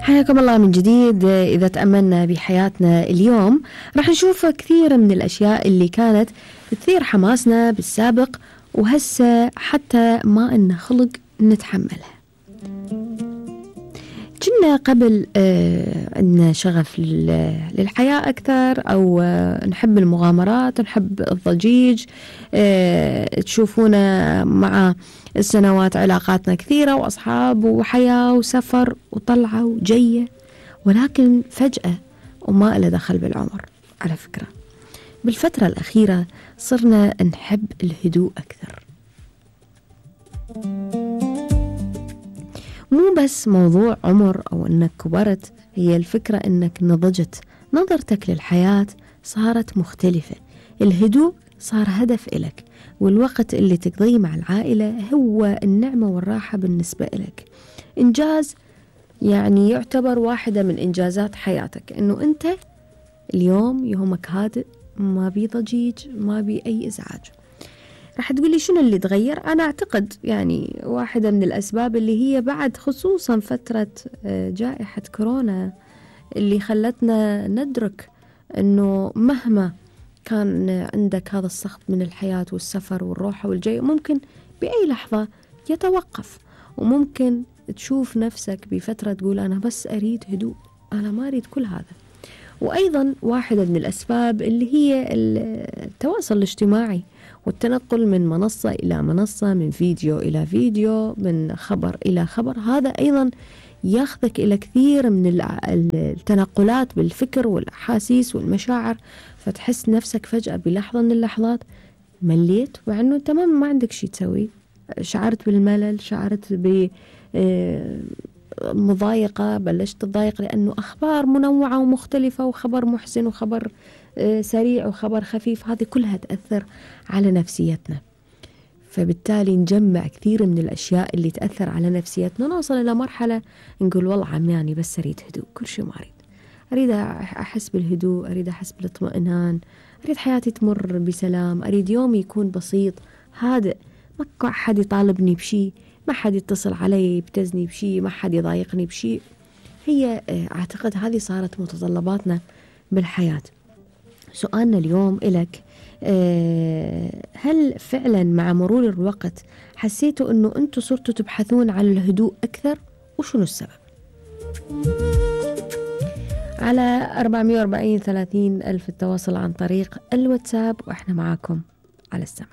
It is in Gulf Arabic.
حياكم الله من جديد. إذا تأملنا بحياتنا اليوم راح نشوف كثير من الأشياء اللي كانت تثير حماسنا بالسابق وهسه حتى ما إن خلق نتحملها. كنا قبل عندنا شغف للحياة أكثر، أو نحب المغامرات، نحب الضجيج. تشوفونا مع السنوات علاقاتنا كثيرة وأصحاب وحياة وسفر وطلعة وجية، ولكن فجأة وما إلى دخل بالعمر. على فكرة بالفترة الأخيرة صرنا نحب الهدوء أكثر. مو بس موضوع عمر أو أنك كبرت، هي الفكرة أنك نضجت، نظرتك للحياة صارت مختلفة. الهدوء صار هدف إلك، والوقت اللي تقضيه مع العائلة هو النعمة والراحة بالنسبة إلك. إنجاز يعني يعتبر واحدة من إنجازات حياتك، أنه أنت اليوم يومك هادئ، ما بي ضجيج، ما بي أي إزعاج. راح تقولي شنو اللي تغير؟ أنا أعتقد يعني واحدة من الأسباب اللي هي بعد خصوصا فترة جائحة كورونا اللي خلتنا ندرك أنه مهما كان عندك هذا السخط من الحياة والسفر والروحة والجاي، ممكن بأي لحظة يتوقف، وممكن تشوف نفسك بفترة تقول أنا بس أريد هدوء، أنا ما أريد كل هذا. وأيضا واحدة من الأسباب اللي هي التواصل الاجتماعي والتنقل من منصة إلى منصة، من فيديو إلى فيديو، من خبر إلى خبر. هذا أيضا ياخذك إلى كثير من التنقلات بالفكر والأحاسيس والمشاعر، فتحس نفسك فجأة بلحظة من اللحظات مليت، وعنه تمام ما عندك شيء تسوي. شعرت بالملل، شعرت بمضايقة، بلشت تضايق لأنه أخبار منوعة ومختلفة، وخبر محزن وخبر سريع وخبر خفيف، هذه كلها تأثر على نفسيتنا. فبالتالي نجمع كثير من الأشياء اللي تأثر على نفسيتنا، نوصل إلى مرحلة نقول والله عمياني بس أريد هدوء، كل شيء ما أريد أحس بالهدوء، أريد أحس بالاطمئنان، أريد حياتي تمر بسلام، أريد يومي يكون بسيط هادئ، ما حد يطالبني بشيء، ما حد يتصل علي يبتزني بشيء، ما حد يضايقني بشيء. هي أعتقد هذه صارت متطلباتنا بالحياة. سؤالنا اليوم إلك، هل فعلا مع مرور الوقت حسيتوا أنه أنتوا صرتوا تبحثون عن الهدوء أكثر؟ وشنو السبب؟ على 440 30 ألف التواصل عن طريق الواتساب، وإحنا معاكم على السمع.